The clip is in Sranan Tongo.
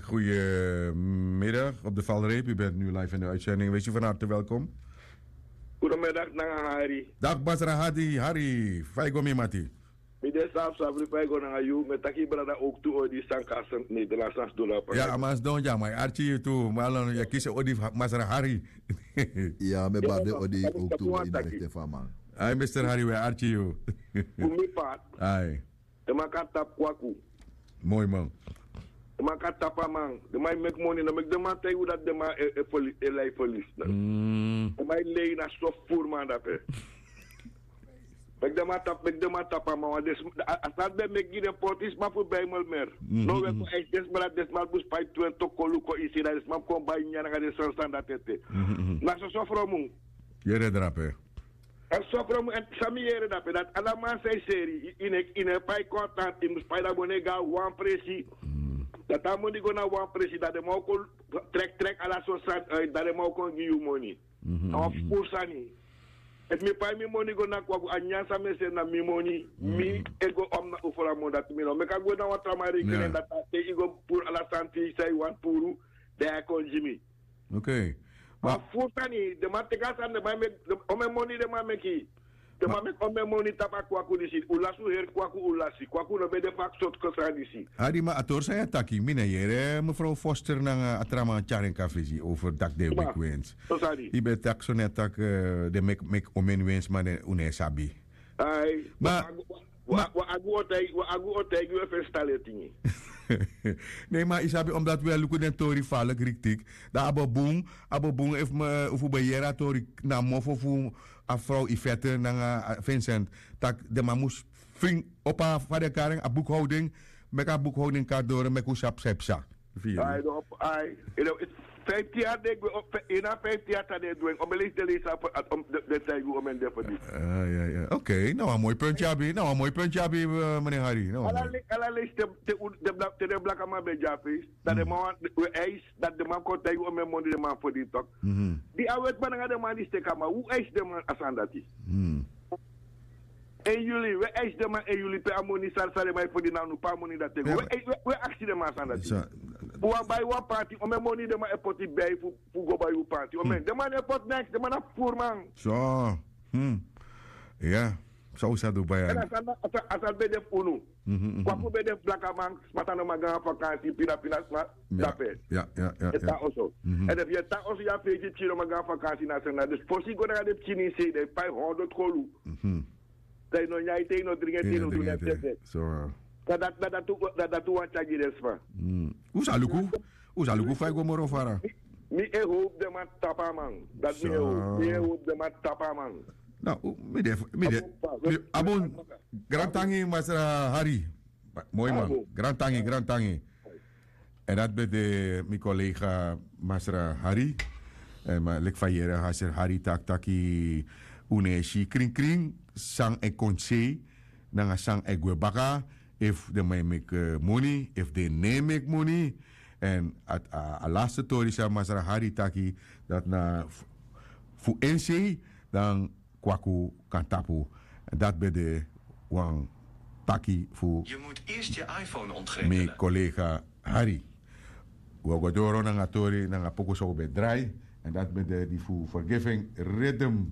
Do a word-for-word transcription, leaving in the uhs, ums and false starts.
Goedemiddag op de valreep. U bent nu live in de uitzending. Wees u van harte welkom. Goedemiddag, nanga Hari. Dag, Masra Hadi. Hari, fa e go, mi mati? Mi de saf, saf, fa e go nanga yu. Mi e taki brada ook tu odi san kasi Nederlands san sidon na. Ya, a man sidon dya, ma yu arki yu tu. Ma a lon, yu e kisi odi fu Masra Hari. Ya, mi e bari den odi ook tu, ma ini a rechten fu a man. Ai, mister Hari, wi e arki yu. Fu mi part. Ai. Den man kan tapu kwaku. Moi man. Den man kan tapu a man. Den man e meki moni, no meki den man taigi unu dati den man e, e, feli-, e lai felis. Mm. Den man e lei, na so furu man dape. Meki den man tapu, meki den man tapu a man, want den sma, a, a sani ben meki gi den poti sma fu bai mel mer. Mhm. No, wi e kon eksi den sma dati, den sma mus pai twenti kolu kon ini se, dan den sma kon bai nyan nanga den sani sani dati ete. Mhm, mhm. Na soso fromu. Yere drape. A sofro mu, èn san mi yere dape, dati ala man san e seri, yu, yu no e, yu no e pai kontanti, yu mus pai. Dan bun, yu e go na wan presi. Mm. Dati a moni go na wan presi, dan den man o kon trek, trek ala sortu sani, eh, dan den man o kon gi yu moni. Mhm, a wan, mhm, furu sani. Efu mi pai mi moni go na kwaku, a nyan san mi e seri na mi moni, mhm, mi e go omna ufra moni, dati mi no meki a go na wan tra man rekening. Ya. Dati a te yu go puru ala sani san yu wani puru, dan yu e kon gi mi. Ok. Ma a furu sani, den man teki a sani, den man meki, den, omeni moni den man meki. Den man meki omeni moni tapu a kwaku disi. Un lasi, un heri kwaku, un lasi. Kwaku no ben de fu a sortu sani disi. Adi, ma a tori san yu e taki, mi no e yere mevrouw Foster nanga a tra man tyari en kon na fesi over taki den e meki wens. So sani. Yu ben taki so net taki, eh, den meki, meki omeni wens, ma den, un no e sabi. Ai, ma, wan, wan, wan agu o taigi, wan agu o taigi wi fu e staleti. Nee, ma yu sabi, omdat wi e luku den tori falek riktik. Dan a bo bun, a bo bun efu mi, efu un ben yere a tori na mofo fu a frow Yvette nanga, a, Vincent. Taki den man mus fring opo a, fa den e kari en, a boekhouding. Meki a boekhouding kan doro, meki un sabi san e psa. Ai, no, ai. Yu no, fifty yari den gwe, o, fe-, yu na fifty yari san den e du en. Omeni leisi den leisi a, a, om, den, den taigi un omeni den fu disi. Ah, ya, ya. Ok, na wan moi punt yu abi, na wan moi punt yu abi, eh, meneer Hari. Na wan moi. Ala le-, ala leisi te, te, te, te den blakaman ben de a fesi. Dan den man, wi e eisi, dan den man kon taigi un omeni moni den man fodini tok. Mhm. Di a wetiman nanga den man disi teki a man, un eisi den man a sani dati. Mhm. Één juli, wi e eisi den man één juli pe a moni san, san den man e fodini na unu, pe a moni dati e go. Wi e, wi e, wi e aksi den man a sani dati. Un wani bai wan panti, omeni moni den man e poti bai fu, fu go bai un panti. Omeni, den man no e poti neks, den man na furu man. So, hmm. Ya, san un sa du bai. Èn a sani, a sani, a sani ben de fu unu. Mhm, mhm. Kwaku ben de fu blakaman, sma tan no man go na vakansi, pina, pina sma, dape. Ya, ya, ya, ya. Yu e tan oso. Mhm. Èn efu yu e tan oso, yu a fesi, pikin no man go na vakansi na sani. Dus fosi yu go nanga den pikin ini se, den e pai honderd kolu. Mhm. Te yu no nyan ete, yu no dringi ete, yu no du neti ete. So, ah. Na dati, na dati, na dati un wani tyari gi den sma. Mm. Un sa luku, un sa luku fa yu go moro fara. Mi, mi e howpu den man tapu a man. Dati mi e howpu, mi e howpu den man tapu a man. No, mi de, mi de. A bun, grantangi, Masra Hari. Moi man. Grantangi, grantangi. Èn dati ben de mi collega Masra Hari. Èn ma leki fa yu yere Masra Hari taki, taki un no e si krinkrin san e kon sei nanga san e gwe baka, efu den man e meki, eh, moni, efu den no e meki moni. Èn a, a, a laste tori san Masra Hari taki, dati na fu, fu en sei, dan kwaku kan tapu. Dati ben de wan taki fu mi collega Hari. Wi o go doro nanga tori, nanga poku san un ben drai. Èn dati ben de di fu Forgiving Rhythm.